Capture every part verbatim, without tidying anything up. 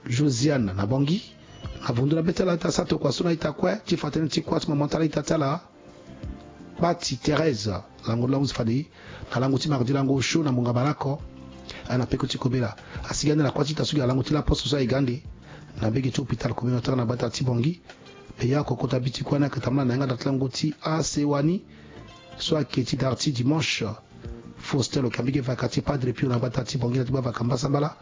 Josiane na Bangui. Na vundu na be ti ala ti asara tokua so na ita kue ti fa tënë ti kuâ ti mama ti ala ita ti ala Pati Thérèse, lango ti la hunzi fade na lango ti mardi lango osio na mungo bale oko. Aye na peko ti kobela asigi ande na kuâ ti ita so gi na lango ti laposte so aye ga ande na mbege ti hôpital communautaire na gbata ti Bangui. Pe ya oko kota bi ti kuâ ni ayeke tambula na yanga daa ti lango ti asewa ni so ayeke ti dara ti dimanche. Faustin lo yeke na mbege vaka ti Padre Pio na gbata ti Bangui na ti gbavaka mbasambala.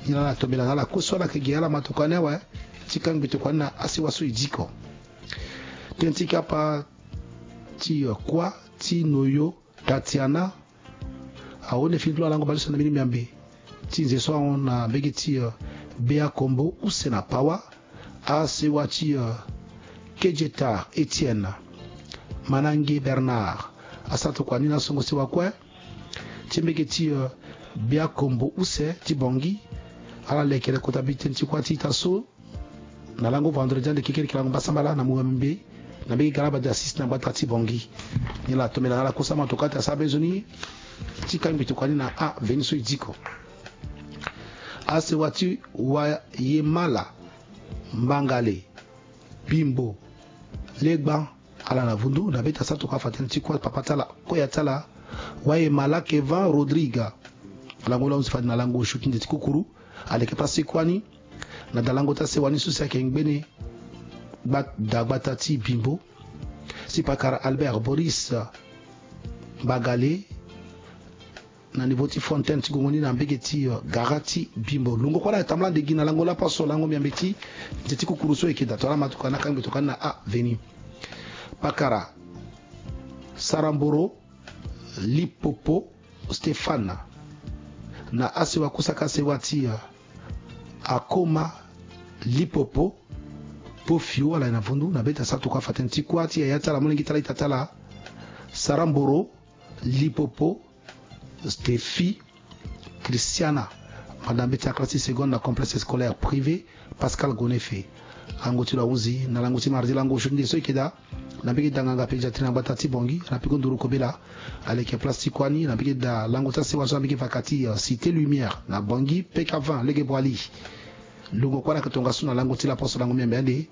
Ni laa ala tombela na ala kue so ala yeke gi ala ma tokua ni awe ti kangbi tokua ni na asewa so e diko. Tënë ti kapa ti kuâ ti Noyo Tatiana ahon fini ti lo alango baleso na mbeni miambe ti nze so ahon na mbege ti, eh, Bea Kombo use na Pawa. Asewa ti, eh, Kejetar Etienne, Manange Bernard, asara tokua ni na songo sewa kue ti mbege ti, eh, Bea Kombo use ti Bangui. Ala lekere kota bi tënë ti kuâ ti ita so na lango vendredi ande kekereke lango mbasambala na mungo mbe na mbege galaba de assis na gbata ti Bangui. Ni laa tombela na ala kue so ama tokua ti asara be nzoni ti kangbi tokua ni na aveni so e diko. Asewa ti Wayemala, Mbangale, Bimbo, Legba, ala na vundu na be ti asara tokua afa tënë ti kuâ papa ti ala, koya ti ala, Wayemala Kevin Rodrigue. Lango la hunzi fade na lango osio ti nze ti kukuru. Aleke place ti kuâ ni na dalango ti asewa ni so si ayeke ngbene gba-, da gbata ti Bimbo. Si pakara Albert Boris Mbagale na niveau ti fontaine ti gongo ni na mbege ti, eh, gara ti Bimbo. Lungo kue ala yeke tambula ande gi na lango laposo lango miambe ti nze ti kukuru so e yeke daa to ala ma tokua ni akangbi tokua ni na aveni. Pakara Saramboro Lipopo Stéphane na asewa kue so ayeke asewa ti, eh, Akoma Lipopo Pofio, ala ye na vundu na be ti asara tokua afa tënë ti kuâ ti yaya ti ala molenge ti ala ita ti ala Saramboro Lipopo Steffi Christiana, madame ti aclasse seconde na complexe scolaire privé Pascal Gonefe. Lango ti lo ahunzi na lango ti mardi lango osio ti nde so e yeke daa na mbege da nganga pédiatrie na gbata ti Bangui na peko nduru kobela. Aleke place ti kuâ ni na mbege da lango ti asewa so na mbege vaka ti, eh, Cité Lumière na Bangui P K vingt lege Boali. Lungo kue ala yeke tongaso na lango ti laposo lango miambe ande.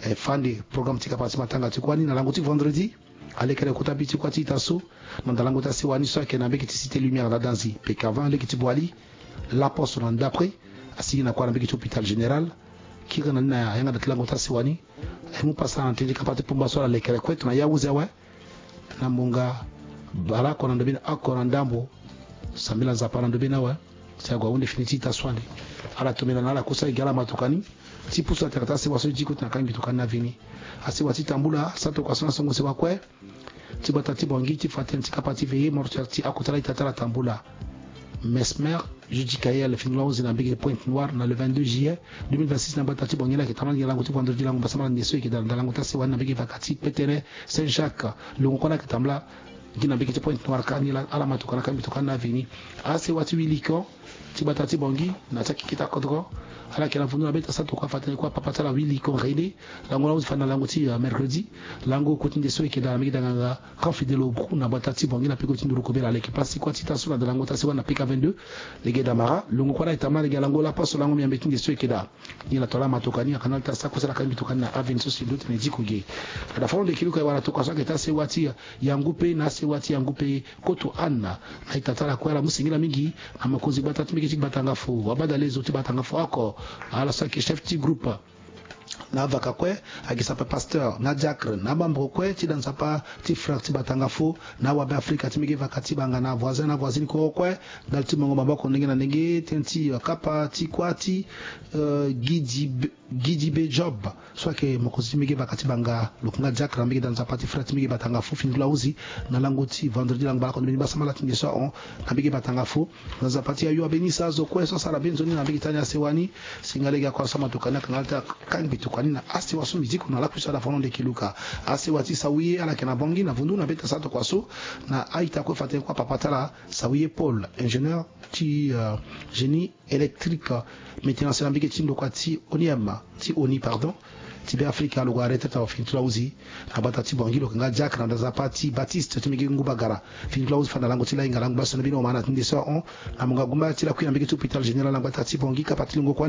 E fa ande programme ti kapa ti matanga ti kuâ ni na lango ti vendredi. Alekere kota bi ti kuâ ti ita so na dalango ti asewa ni so ayeke na mbege ti Cité Lumière na danzi P K vingt lege ti Boali. Laposo na ndapre asigi na kuâ na mbege ti hôpital général. Kiri na ni na yanga daa ti lango ti asewa ni. E mu pasa na tënë ti kapa ti pumba so ala lekere kue tongana ya hunzi awe. Na mungo bale oko na ndobeni oko na ndambo. Sambela Nzapa na ndobeni awe. Si ague ahunde fini ti ita so ande. Ala tombela na ala kue so aye gi ala ma tokua ni ti pusu atere ti asewa so e diko ti na kangbi tokua ni na vini. Asewa ti tambula asara tokua so na songo sewa kue ti gbata ti Bangui ti fa tënë ti kapa ti veillée mortuaire ti akota la ita ti ala tambula. Mesmer Judicaël fini lo ahunzi na mbege Pointe-Noire na le vingt-deux juillet deux mille vingt-six na gbata ti Bangui. Ala yeke tambula gi na lango ti vendredi lango mbasambala nde so e yeke daa na lango ti asewa ni na mbege vaka ti Petene Saint-Jacques. Lungo kue ala yeke tambula gi na mbege ti Pointe-Noire kâ. Ni laa ala ma tokua ni akangbi tokua ni na vini. Asewa ti Wilikon ti gbata ti Bangui na ti akeke ti akodoro. Ala yeke na vundu na be ti asara tokua afa tënë ti kuâ papa ti ala Wilikon René. Lango la hunzi fade na lango ti, eh, mercredi. Lango kue ti nde so e yeke daa na mbege da nganga Camp Fidèle Aubroux na gbata ti Bangui na peko ti nduru kobela. Aleke place ti kuâ ti ita so na dalango ti asewa ni na P K vingt-deux lege Damara. Lungo kue ala yeke tambula lege na lango laposo lango miambe ti nde so e yeke daa. Ni na to la ma tokua ni akanal ti asara kue so ala kangbi tokua ni na aveni so si ndo tene e diko ge. Ada fano nde kiluka e wara tokua so ayeke ti asewa ti Yangupe na asewa ti Yangupe Koto Anne. Na ita ti ala kue ala mu singila mingi na mokonzi gbata ti mbege ti Gbatangafo, Wabadalezo ti Gbatangafo oko. Ala so ayeke chef ti groupe na avaka kue, ayeke sapa pasteur na diacre na amembre kue ti da nzapa ti frère ti Gbatangafo na awabe Afrika ti mbege vaka ti banga na avoisin na avoisine kue kue. Ndali ti mongo maboko ndenge na ndenge tënë ti, eh, kapa ti kuâ ti, eh, Gidi Be-, Gidi Be Job so ayeke mokonzi ti mbege vaka ti banga lo yeke nga diacre na mbege da nzapa ti frère ti mbege Gbatangafo fini ti lo ahunzi na lango ti vendredi lango bale oko na mbeni mbasambala ti nde so ahon na mbege Gbatangafo. Na nzapa ti ayo abenisa azo kue so asara be nzoni na mbege ti ani asewa ni. Singa lege akua so ama tokua ni akanga ala ti akangbi tokua ni na asewa so mbi diko na lakui so ada fano nde kiluka. Asewa ti Sawiye ala yeke na Bangui na vundu na be ti asara tokua so na a-ita kue fa tënë kuâ papa ti ala Sawiye Paul, ingénieur ti, euh, génie électrique, maintenance na mbege ti ndokua ti ONIM, ti ONI, pardon, ti Beafrika, lo gue na retraite awe fini ti lo ahunzi na gbata ti Bangui. Lo yeke nga diacre na nzapa ti Baptiste ti mbege Ngubagara. Fini ti lo ahunzi fade na lango ti lahinga lango baleso na mbeni oma na ti nde so ahon na monga gumba ti lakui na mbege ti hôpital général na gbata ti Bangui. Kapa ti lungo kue